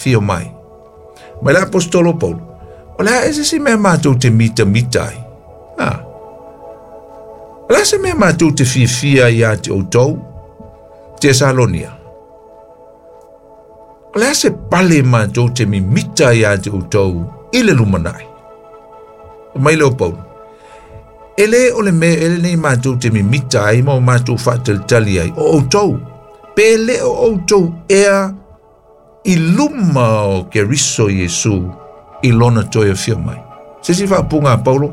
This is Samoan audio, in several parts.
Afio mai. Mai le Aposetolo Paulo, O le a ea se isi mea matou te mitamita ai? A. O le a se mea matou te fiafia ai ia te outou, Tesalonia? O le a se pale matou te mimita ai ia te outou i le lumanai? Mai le o Paulo, E lē o le mea ea lenei matou te mimita ai ma o matou faatalitali ai, o outou, pe lē o outou ea i luma o Keriso Iesu i lona toe afio mai. Se isi faaupuga a Paulo,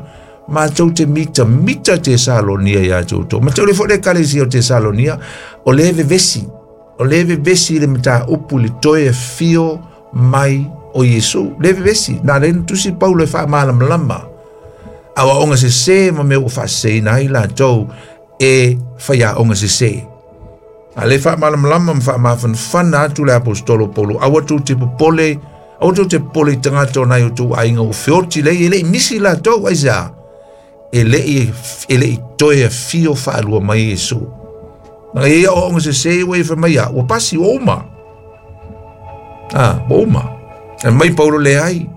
matou te mitamita Tesalonia iā te outou. Ma te ule foi le ekalesia o Tesalonia, o lē vevesi, o lē vevesi i le mataupu i le toe afio mai o Iesu. Lē vevesi, na lea na tusi Paulo e faamalamalama aoaoga sesē ma mea ua faaseseina ai latou e faiaoga sesē. A le faamalamalama ma faamafanafana atu le aposetolo o Paulo, aua tou te popole, aua tou te popole i tagata o nai o tou aiga ua feoti lei, e le i misi latou, aisea? E le i toe afio faalua mai Iesu. Na ia aoaoga sesē ua ia fai mai a, ua pasi, ua uma. Ua uma. E mai Paulo leai.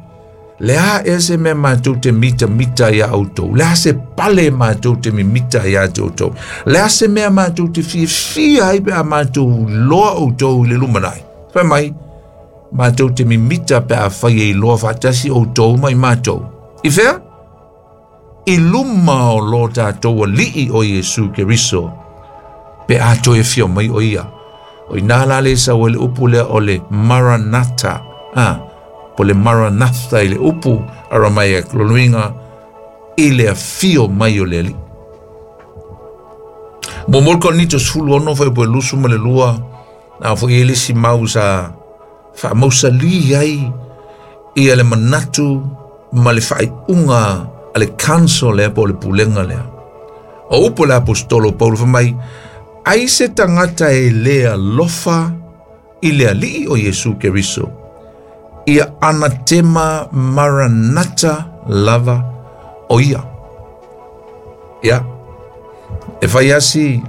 Le a ea se mea matou te mitamita iā outou? Le a se pale matou te mimita iā te outou? Le a se mea matou te fiafia ai pe a matou iloa outou i le lumanai? Fai mai, matou te mimita pe afai e iloa faatasi outou ma i matou. I fea? I luma o lo tatou Alii o Iesu Keriso, pe a toe afio mai o ia. O inā la le sau ai le upu lea o le Maranatha, a, po le Maranatha i le upu Aramaic, lona uiga, i le afio mai o le Alii. Muamua le Korinito 16 fuaiupu e 22, na foi i ai le isi mau sa faamausalī ai ia le manatu ma le faaiuga a le council lea po o le pulega lea. O upu a le aposetolo o Paulo fai mai, ai se tagata e lē alofa i le Alii o Iesu Keriso, ia anatema maranata lava o ia. Ia, e fai asi,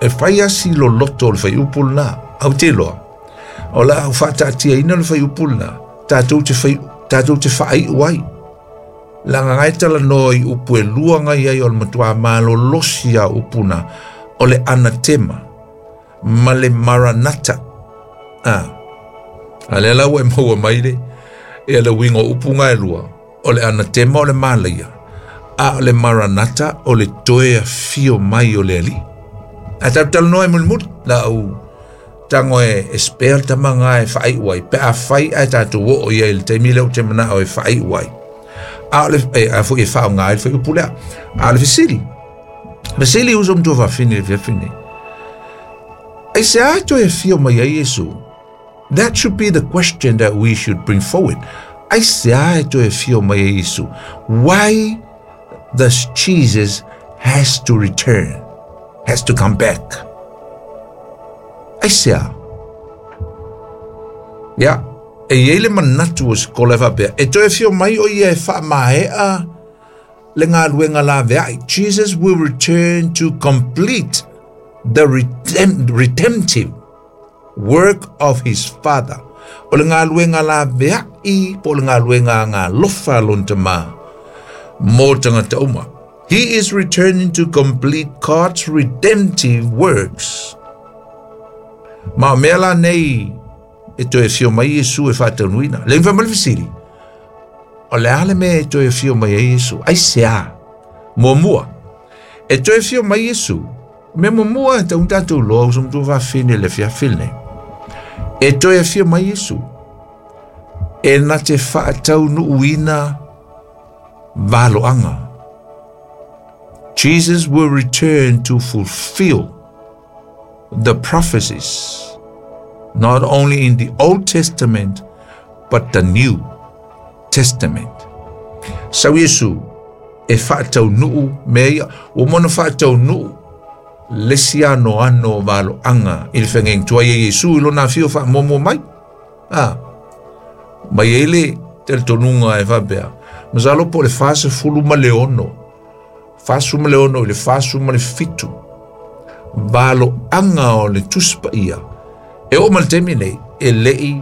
e fai asi loloto o le fuaiupu lena, ae ou te iloa, o le a ou faataatiaina le fuaiupu lena, tatou te fai, tatou te faaiu ai. Leaga e talanoa i upu e lua ngai ai o le matua malolosi a upu na, o le anatema ma le maranata. A lea la ua e maua mai le, ia le uiga o upu nga e lua, o le anatema o le malaia, a o le maranata o le toe afio mai o le Alii. Ae tatou talanoa ai mulimuli, la ou tago e spare le tama nga e faaiu ai, pe afai ae tatou oo i ai i le taimi lea ou te manao e faaiu ai. A o le, e, a foi e faaaoga ai le fuaiupu lea. A o le fesili, fesili uso ma tuafafine i le afiafi lenei. Aisea e toe afio mai ai Iesu? That should be the question that we should bring forward. Aisea e toe afio mai ai Iesu? Why does Jesus has to return? Has to come back? Aisea? Ia, e i ai le manatu o se kola e faapea, e toe afio mai o ia e faamaea le galuega laveai. Jesus will return to complete the redemptive work of his father. O le galuega laveai po o le galuega agalofa a lona Tama mō tagata uma. He is returning to complete God's redemptive works. Ma o mea la nei e toe afio mai Iesu e faataunuina. Le fai mai le fesili, o le a le mea e toe afio mai ai Iesu? Aisea? Muamua, e toe afio mai Iesu, mea muamua e tatau ona tatou iloa uso ma tuafafine i le afiafi lenei. E toe afio mai Iesu, e na te faataunuuina valoaga. Jesus will return to fulfill the prophecies, not only in the Old Testament, but the New Testament. Sau Iesu e faataunuu mea ia, ua uma ona faataunuu le isi anoano o valoaga i le feagaiga tuai a Iesu i lona afio faamuamua mai. Mai ai le talitonuga e faapea, masalo po o le 46, 46 i le 47 valoaga o le Tusi Paia e oo mai le taimi nei e le i